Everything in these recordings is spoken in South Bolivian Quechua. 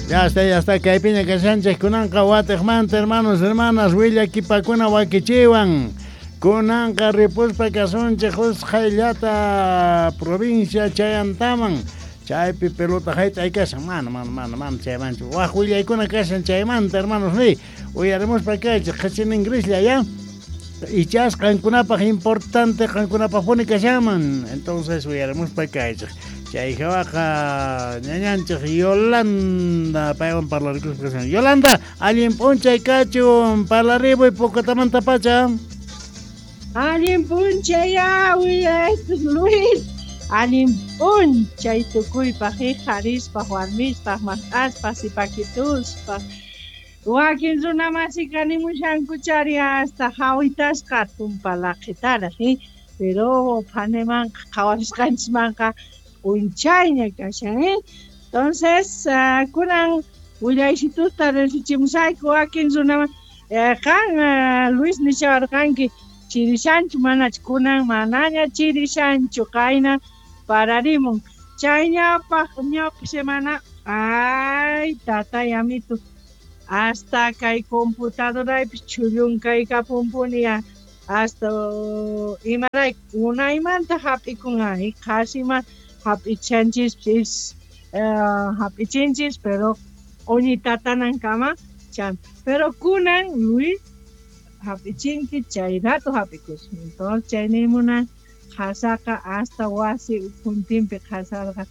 Ya está, ya está. Kaypiña kashanchik kunanqa watiqmanta hermanos, hermanas, willakipakuna wakichiwan. Kunanqa ripuspa kasunchik usqhayllata provincia Chayantaman. Chaypi pelota hayt'ay kashan. Mana, mana, mana, mana chaymanchu. Waj willaykuna kashan chaymanta, hermanos, ni. Uyarimuspa kaychik qhachinin grislla, ya. Ichas qankunapaq importante qankunapaqpuni kashanman. Entonces uyarimuspa kaychik. Chay hawaqa ñañanchik Yolanda paywan parlarikuspa kashan. Yolanda, allin p'unchay kachun, parlarimuy Pocotamantapacha. Allin p'unchay Luis. Allin p'unchay tukuypaq, qharispaq, warmispaq, maq'aspaq, sipakituspaq. Wakin runa masika nimushanku chari hasta hawitasqa tumpa laqhitaraq, pero phanemanqa qhawarisqanchismanqa p'unchayña kashan, Entonces, kunan willaysitusta riqsichimusayku wakin runaman. Qan Luis nishawarqanki chirishanchu manachu kunan manaña chirishanchu qayna pararimun. Chay ñawpaq ñawpaq semana ay tatay amito hasta kay computadoraypis chhullunkaykapunpuni hasta imarayku unaymanta hap'ikun qhasima hap'ichanchispis hap'ichinchis pero q'uñi tatanankama chan pero kunan Luis hap'ichinki chay rato hap'ikushan. Entonces chay nimuna qhasaqa hasta wasi ukhuntinpi qhasarqa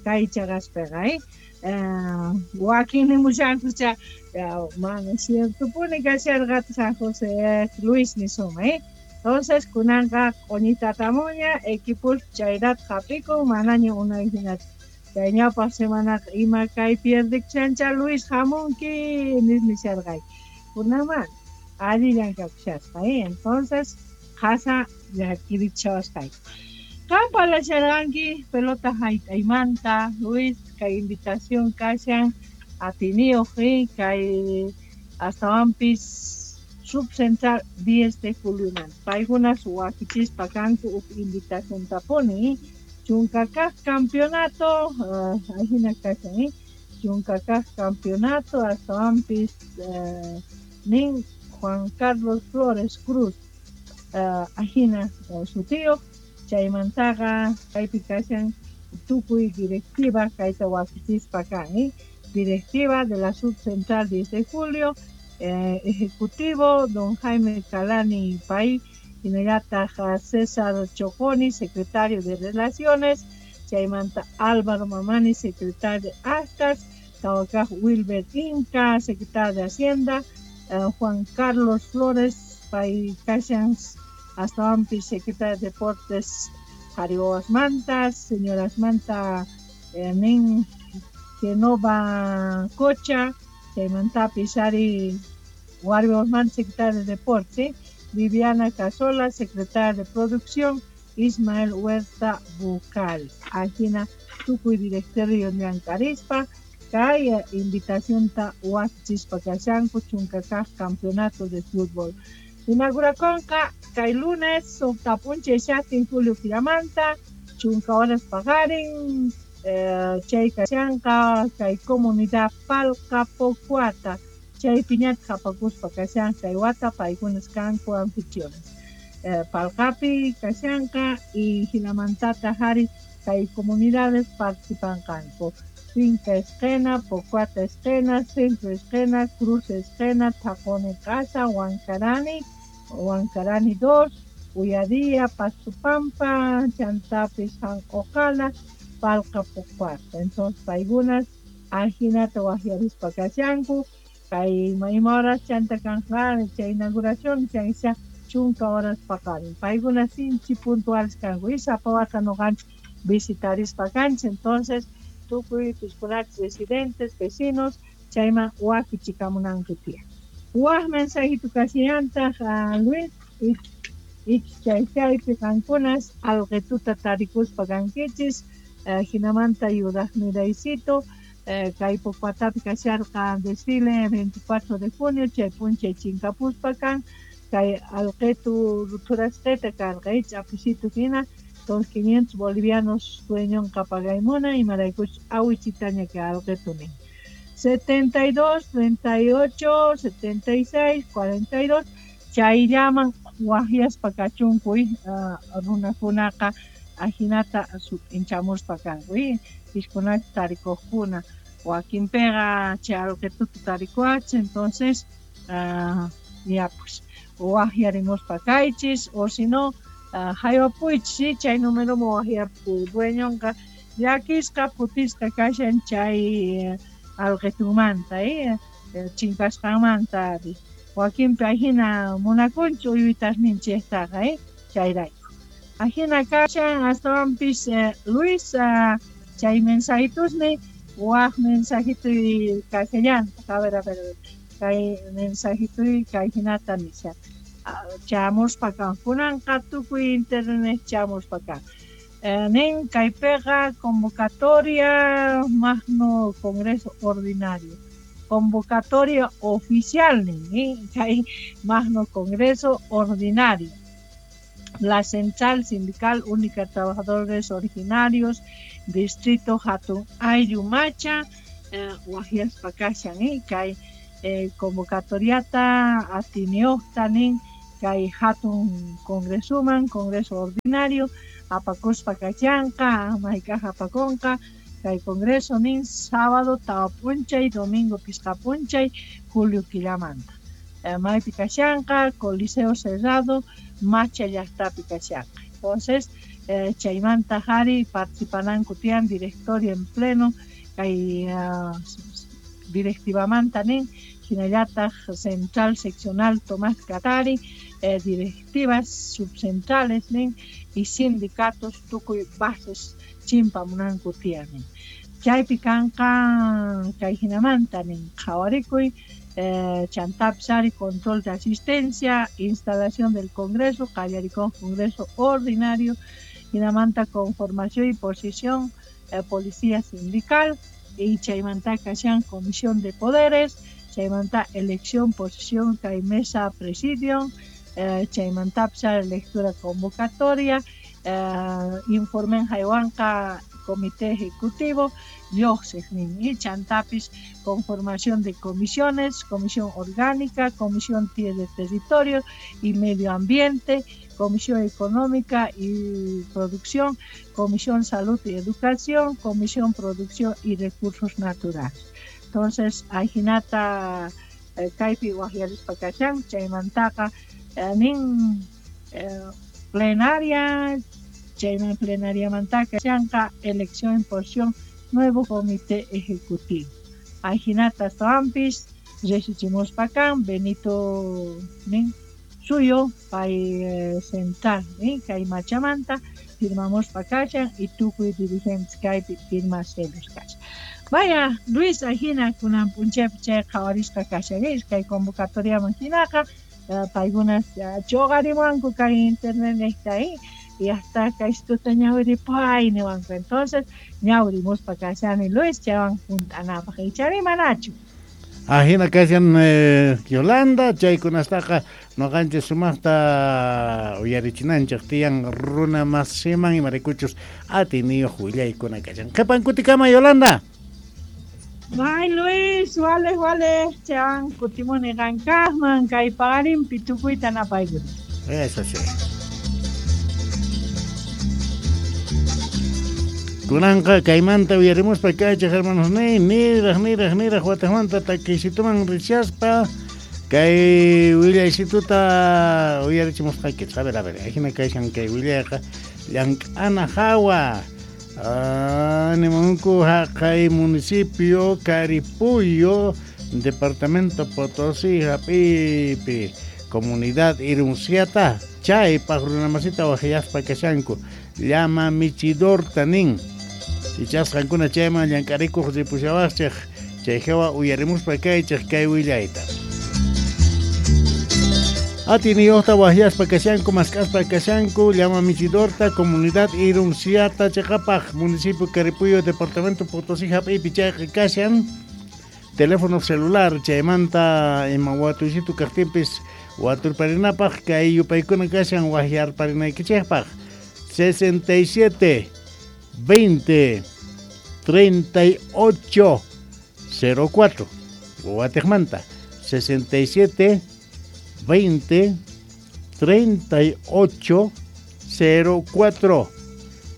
kay chaqaspiqa wakin nimushankucha mana ciertopuni kasharqa San José Luis nisuma. Entonces kunanqa q'uñi tatamuña equipos chay rato hap'ikun manaña unay hinachu. Chay ñawpaq semanaqa ima kay pierdekushancha Luis hamunki nis nisharqayki. Kunan allillan kakushasqa, Entonces qhasa llakirichawasqayku. Qan parlasharqanki pelota hayt'aymanta Luis kay invitación kashan atiniyuq kay astawanpis subcentral 10 de juliomanta. Paykunas wakichispa kanku huk invitaciontapuni. Chunka kaq campeonato, ajina kashan, chunka kaq campeonato astawanpis nin Juan Carlos Flores Cruz, ajina sutiyuq. Chaymantaqa kaypi kashan tukuy directiva kayta wakichispa kan, Directiva de la Subcentral 10 de Julio, Ejecutivo don Jaime Calani Pay, hinallataq César Choconi, secretario de Relaciones, chaymanta Álvaro Mamani, secretario de Actas, Tawakaj Wilber Inca, secretario de Hacienda, Juan Carlos Flores, pay kashan astawanpis secretario de Deportes, Jarioas Mantas, señoras Manta, nin Genova Cocha, chaymantapis ari Warmiwas Manta, secretario de Deportes, Viviana Casola, secretaria de Producción, Ismael Huerta Bucal. Ajina tukuy directorio llank'arispa kay invitacionta wakichispa kashanku chunka kaq campeonato de fútbol. Inauguraconqa kay lunes suqta p'unchay shaqtin julio killamanta chunka horas paqarin chay kashanqa kay comunidad Palqa Pocuata chaypiñataq apakuspa kashan kay wata paykunas kanku anfitriones. Palqapi kashanqa y hinamantataq ari kay comunidades participanqanku. Finca Esquena, Pocuata Esquena, Centro Esquena, Cruz Esquena, Tacone Casa, Huancarani, Huancarani 2, Uyadía, Pastupampa, Chantapis, Janjojala, Palqa Pocuata. Entonces, paykunas ajinata waqyarispa kashanku, kay ima horas chanta kanja chay inauguración, chaysa chunka horas paqarin. Paykunas sinchi puntuales kanku, y sapa wata nuqanchik visitarispa kanchik, entonces tukuy piskunachis residentes, vecinos, chayman wakichikamunanku tiyan. Waj mensajito kasillantaq Luis, ich chay chaypi qankunas alqituta tarikuspa kankichis, hinamanta yuraqniraycito, kay Pocuatapi kasharqa desfile 24 de junio, chay p'unchay chinkapuspa kan, kay alqitu ruthurasqita karqa, ch'apisitu hina, entonces 500 bolivianos dueñonqa pagaymuna imaraykuch awichitaña kay alqitu nin. 72 38 76 42 chayllaman waqyaspa kachunku runakunaqa ajinata sut'inchamuspa kanku piskunata tarikuqkuna wakinpiqa chay alqituta tarikuwachis entonces ya pues waqyarimuspa kaychis o si no haywapuychis chay numeroman waqyapu dueñonqa llakisqa phutisqa kashan chay alqitunmanta chinkasqanmanta wakinpi ajina munakunchu uywitasninchiktaqa chayrayku ajina kashan astawanpis Luis chay mensajitusni waj mensajituy kashallantaq a ver kay mensajituy kay hinata nisha chamuspa kan kunanqa tukuy internet chamuspa kan nin kaypiqa convocatoria magno congreso ordinario convocatoria oficial nin kay magno congreso ordinario la Central Sindical Única de Trabajadores Originarios Distrito Hatun Ayllumacha waqyaspa kashan kay convocatoriata atiniyuqta nin kay hatun congresuman congreso ordinario apakuspa kashanqa mayk'aq apakunqa kay congreso nin sábado tawa p'unchay domingo pisqa p'unchay julio killamanta maypi kashanqa Coliseo Cerrado Macha llaqtapi kashanqa entonces chaymanta qhari participananku tiyan directorio en pleno kay directivamanta nin hinallataq central seccional Tomás Katari directivas subcentrales nin y sindicatos tukuy bases chimpamunanku tiyan nin chaypi kanqa kay hinamanta nin qhawarikuy chantapis ari control de asistencia, instalación del Congreso, qallarikun Congreso ordinario, hinamanta conformación y posición policía sindical y chaymanta kashan comisión de poderes, chaymanta elección, posición, kay mesa presidium, chaymantapis ari lectura convocatoria, informen haywanqa comité ejecutivo, lluqsiq nin y chantapis conformación de comisiones, comisión orgánica, comisión de territorio y medio ambiente, comisión económica y producción, comisión salud y educación, comisión producción y recursos naturales. Entonces, ajinata kaypi waqyarispa kashan chaymantaqa nin plenaria, chayman plenariamanta kashanqa elección en posición nuevo comité ejecutivo. Ajinata astawanpis riqsichimuspa kan Benito nin suyo pay central kay Machamanta firmamuspa kashan y tukuy dirigentes kaypi firma sellos kashan. Vaya Luis ajina kunan p'unchaypi chay qhawarisqa kashan kay convocatoriaman hinaqa paykunas chuqarimuwanku kay internet niqta y hasta kaystuta ñawiripay niwanku entonces ñawirimuspa kashani Luis chaywan junt'anapaq ichari manachu. Ajina kashan Yolanda chaykunastaqa noqanchis sumaqta uyarichinanchik tiyan runa masiman imaraykuchus atiniyuq willaykuna kashan. Qhipan kutikama Yolanda. Bye Luis, wale wale, chaywan kutimuni qankaqman kay paqarinpi tukuyta napaykuni. Eso sí. Kunanqa kaymanta uyarimuspa kaychik hermanos niraq niraq wataqmanta takiysituman rishaspa kay willaysituta uyarichimusqaykichik. A ver, ajina kayshan kay willayqa llank'ana hawa nimunku haqay municipio Caripuyo departamento Potosí hap'ipi comunidad Irunciata chaypaq runamasita waqyaspa kashanku llama michidorta nin ichasqankuna chayman llank'arikuq ripushawaqchik chay hawa uyarimuspa kaychik kay willayta. Atiniyuqta waqyaspa kashanku mask'aspa kashanku llama michidorta comunidad Irunciata chiqapaq municipio Caripuyo departamento Potosí hap'ipi chayqa kashan teléfono celular chaymanta ima watuysitu kaqtinpis waturparinapaq kay yupaykuna kashan waqyarparinaykichikpaq 67 20 38 04. Watejmanta 67 20 38 04.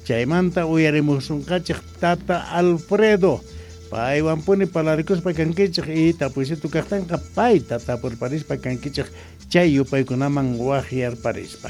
Chaymanta uyarimusunqachej tata Alfredo. Paywanpuni parlarikuspa kankichej y tapuysitu kajtanqa payta tapurparispa kankichej chay yupaykunaman wajyarparispa.